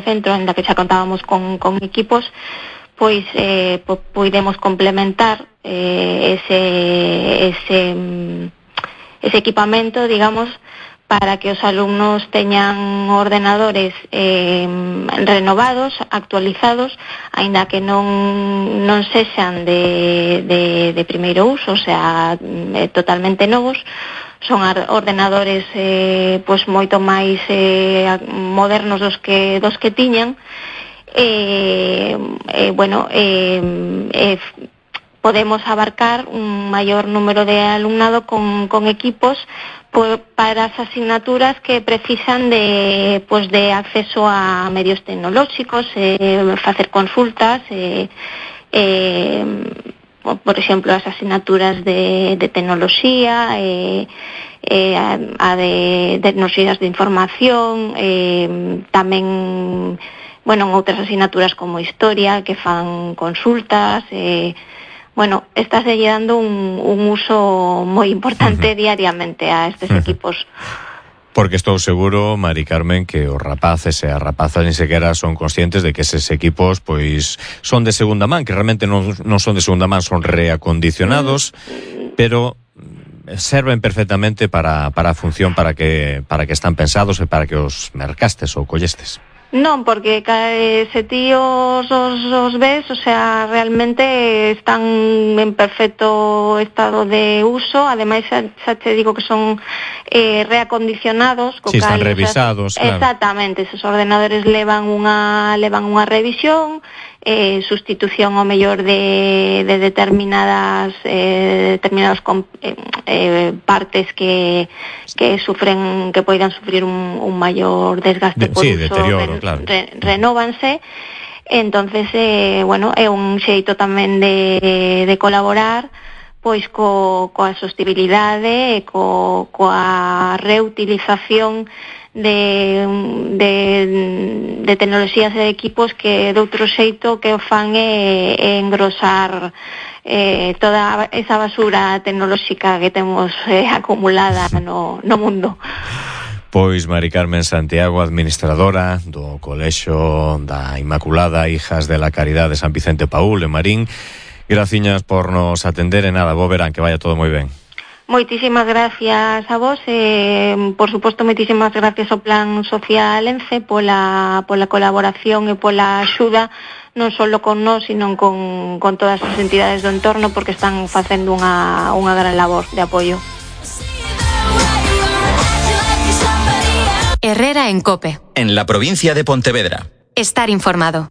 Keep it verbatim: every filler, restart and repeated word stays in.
centro, ainda que xa contábamos con, con equipos, pois eh, po, poidemos complementar eh, ese, ese, ese equipamento, digamos, para que os alumnos teñan ordenadores eh, renovados, actualizados, aínda que non, non sexan de, de, de primeiro uso, o sea, eh, totalmente novos. Son ordenadores eh, pois moito máis eh, modernos dos que dos que tiñan. Eh, eh, bueno, eh, eh, podemos abarcar un maior número de alumnado con, con equipos por, para as asignaturas que precisan de, pues, de acceso a medios tecnolóxicos, eh, facer consultas, eh, eh, por exemplo, as asignaturas de, de tecnoloxía, eh, eh, a, a de tecnoloxías de información, eh, tamén, bueno, en outras asignaturas como historia, que fan consultas, eh, bueno, está dando un, un uso moi importante uh-huh. diariamente a estes uh-huh. equipos. Porque estou seguro, Mari Carmen, que os rapaces e as rapazas ni sequera son conscientes de que eses equipos pois son de segunda man, que realmente non, non son de segunda man, son reacondicionados, mm. pero serven perfectamente para, para a función para que, para que están pensados e para que os mercastes ou collestes. Non, porque se ti os, os, os ves, o sea, realmente están en perfecto estado de uso, ademais xa, xa te digo que son eh, reacondicionados. Si, sí, están revisados, o sea, claro. Exactamente, esos ordenadores levan unha levan unha revisión, eh, sustitución ao mellor de, de determinadas eh, determinadas eh, eh, partes que que sufren, que poidan sufrir un, un maior desgaste de, por sí, uso, deterioro, re, claro. re, renóvanse. Entonces, eh, bueno, é un xeito tamén de, de colaborar pois co, coa sostibilidade e co, coa reutilización de, de, de tecnoloxías e equipos que de outro xeito que o fan é, é engrosar eh, toda esa basura tecnolóxica que temos eh, acumulada no, no mundo. Pois Mari Carmen Santiago, administradora do Colexio da Inmaculada Hijas de la Caridad de San Vicente Paúl en Marín, graciñas por nos atender e nada, bo verán, que vaya todo moi ben. Moitísimas gracias a vos, eh, por suposto, moitísimas gracias ao Plan Social ENCE pola, pola colaboración e pola axuda, non só con nós, sino con, con todas as entidades do entorno, porque están facendo unha, unha gran labor de apoio. Herrera en COPE. En la provincia de Pontevedra. Estar informado.